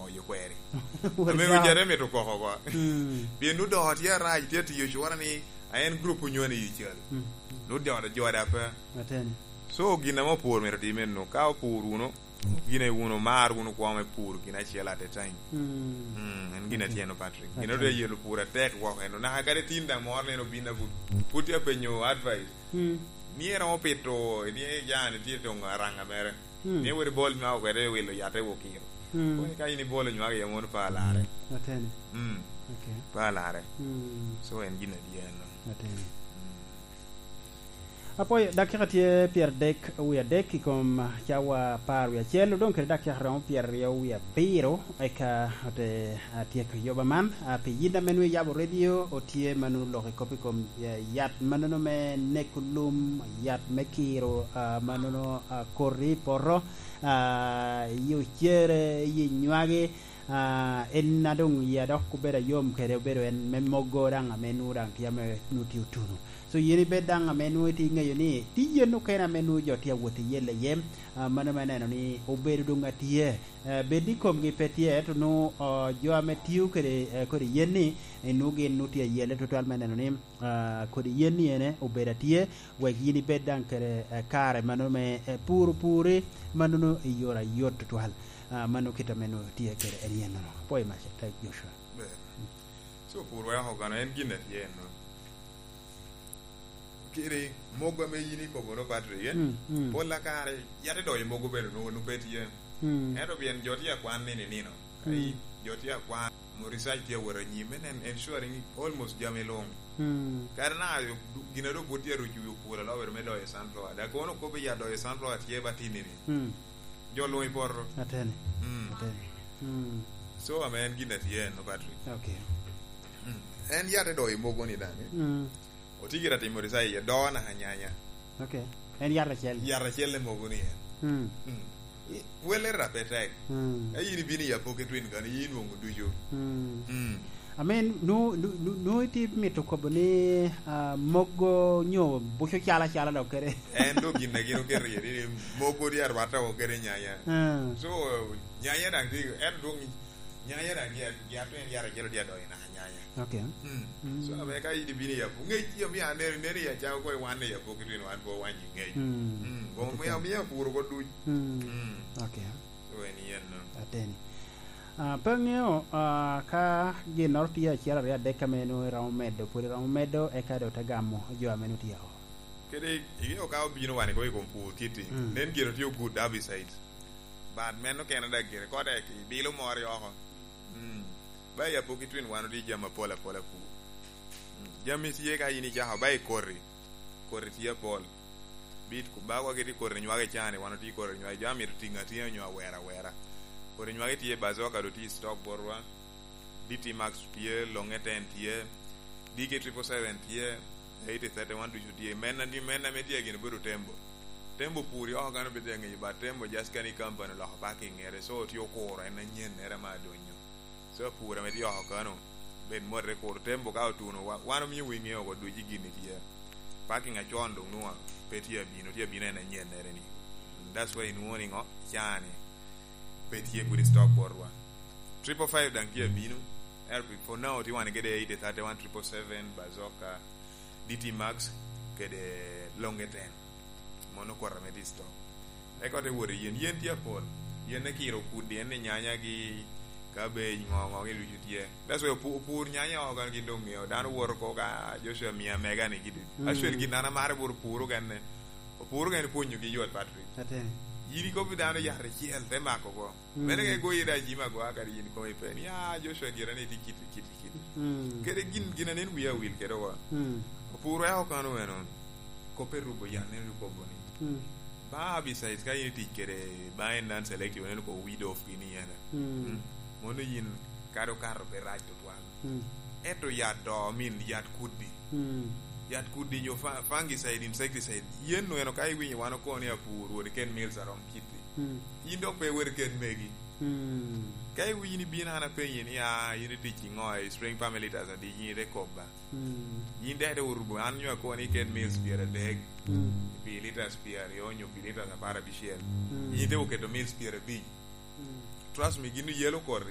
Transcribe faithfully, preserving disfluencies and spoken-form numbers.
Oyo kweri. Wot Ame dok. Ojare mito koko oko. Mm. Pien nu dok tye arac, tye atiyo cura ni a en grup onywani i cal. Mm. Nu dok jode ape. Ateni. So, gin ame opur mito time nu, ka opur wunu, gin e wunu, mar wunu kwo me pur gin acel at a time. Mm. Mm, en gin Okay. atyen, Patrick. Gin Okay. otye yelo pur atek woko eno. Naka kadi tin daŋ moro neno bin abut. Put ya penyo advice. Mm. Ni eromo pito, ni jani tye tong aranga mere. Hmm. Ni wot ibol nywako kwede i wilo yat i okiro. Hmm. Koni ka in ibolo nywako iye mono pe alarre. Ateni. Hmm. Okay. Pe alarre. Hmm. So en gin adye eno. Ateni. Hmm. Apwoyo, dakika tye pyeradek wie adek i kom cawa apar wie acel, odong kede dakika romo pyeraryo wie abiro, eka ote atyeko yoba man. Ah, pi yin ame nwoŋo iyabo redio, otye ma nwoŋo lok i kop i kom, eh, yat mannono me neko lum, yat me kiro, ah, mannono, ah, koti i poto, ah, i ocere, i nywagi, ah, en a doŋ yia dok obedo ayom kede, obedo en me mogo daŋ ame nwoŋo daŋ tye ame nwoŋo tye otuno. So, yin ibed daŋ ame nwoŋo itye iŋeyo ni tye yen okene ame nwoŋo jo tye awot i yelle iye, ah, mano me neno ni obedo doŋ atye. Eh, bed ni komgi pe tye, ento nwoŋo, oh, jo ame tio kede, eh, kodi yen-ni, eh, nwoŋo gin nwoŋo tye ayelle tutwal me neno ni, ah, kodi yen-ni ene obedo atye, wek yin ibed daŋ kede, eh, kare mannono me, eh, puro puri, mannono i yore ayot tutwal. Ah, mano kit ame nwoŋo tye kede en yennono. Apwoyo mac, atek Joshua. Ber. So, pur weko kono en gin atye enno. Kiri, mogo ame yin ikobo no, Patrick, eh? Mm, mm. Pol a kare, yat idoyo mogo bene nwoŋo, nwoŋo pe tye. Mm. Ento pien jo tye akwan nino i nino. Ka Mm. i-, jo tye akwan, mo research tye awot anyim, en, en ensuring almost jami luŋ. Mm. Kare na, gin a dok bot tye aruco wi opur alobere me doyo sunflower. Da kono kop i ya doyo sunflower tye ba tinni ni. Mm. Jo luŋ i poto. Ateni. Mm. Ateni. Mm. So, ame en gin a tye enno, Patrick. Okay. Mm. En yat idoyo mogo ni daŋ, eh? Mm. Otye gire atimo research iye, doo naka nyanya. Okay. En yat acel. Yat acel i mogo ni en. Mm. Mm. I, welle rap pe tek. Mm. Ka in ibino i Apoki Twin kano, in inwoŋo ducu. Mm. Mm. I mean, nu, nu, nu, nu itye mito kobo ni, ah, mogo nyo buco calo acala dok kede. En dok gin a gin oketo iye ni mogo di arwata woko kede nyanya. Mm. So, nyanya daŋ tye, en dwong nyanya daŋ tye, tye, tye, tye, tye, tye, tye, tye, Okay. Mm. Mm. So, ame ka in ibino i Apo-, ŋec tye omio aneno, neno i acalo kong iwanne i Apoki Twin wan pe owanyo i ŋec. Mm. Mm. Kong omio, omio apuro oko duc. Mm. Mm. Okay. So, en yen no. Ateni. Ah, pe aŋeo, ah, ka ginnoro tye acel, aryo, adek ame nwoŋo iromo medo, pwod iromo medo, eka doŋ te gamo jo ame nwoŋo tye oko. Kede, iŋeo ka obino wan i kom pur kiti, Mm. nen gire tye good herbicide. But meno kene daŋ gire, kote ki bilo moro oko. Mm. Ba i Apoki Twin wan otye jami apol apol apur. Mm. Jami tye ka in icako, ba i koti. Koti tye apol. Bit ku-, ba wa kiti koti nywage cani, wan otye koti nywage. Jo amito tiŋ atinga nyo awera awera. Koti nywage tye, Bazoka do tye i stock botwa. D T Max tye, Longe ten tye, D K triple seven tye, eighty thirty-one ducu tye. Men a, men ame tye gin obedo Tembo. Tembo pur i oko kan obedo aŋeyo, but Tembo just kani company oloko parking ere, so tye okuro, en anyen ere ma adonyo. So pur ame tye oko kano, bed mote kuro Tembo ka otuno, wa-, wan omio wi ŋeo oko duc i gin ni tye. Parking acon doŋ nwa pe tye abino, tye abino en anyen ere ni. That's why inwoŋo ni ŋo, cani pe tye pwod i stock botwa. Triple five daŋ tye abino. Ento for now, tye wan kede eighty thirty-one, triple seven, Bazooka, D T Max, kede Longe ten. Mono kota me tye i stock. Eka te wot i yen. Yen tye apol. Yen ne kiro kudi, en ni nyanya gi cabbage, ŋo, ŋo, gi ducu tye. That's why opu-, opur nyanya oko kan gin doŋ ŋeo. Dano woto ko ka Joshua mia mega ni gidi. Mm. Actually, gin an amaro bot opuro genne. Opuro genne pwonyo gi yot, Patrick. Ate. Yini kop dano yat acel, te mako ko. Mm. Mene ka igoyo da jimi agoya kadi yin kong ipe ni, "Ah, Joshua gira ni tye kiti, kiti, kiti." Mm. Kede gin, gin anen wiya wil kede wa. Mm. Opur weko kano eno, kope rubo yan, neno kobo ni. Mm. Ba herbicides ka in itic kede, ba en non selective, neno ko weed off gini ene. Mm. Mm. Mono yin kado kato pe rac tutwal. Mm. Ento yat do, I mean, yat kudi. Mm. Yat kudi nyo fa-, fungicide, insecticide. Yen no eno ka iwinyo wan okoni apur, wod ken mills arom kiti. Mm. In dok pe iwot iket megi. Mm. Ka iwinyo ni bino an apenyi ni, "Ah, in itic i ŋo, i spring permelators adi?" Yin ite kobba. Mm. Yin dek ite orubo, an nyo akoni iket mils pyeradek, Mm. pi liters pyeraryo, nyo pi liters apar abicel. Mm. Yin ite oketo mils pyerabic. Mm. trust me, gin oyelo koti.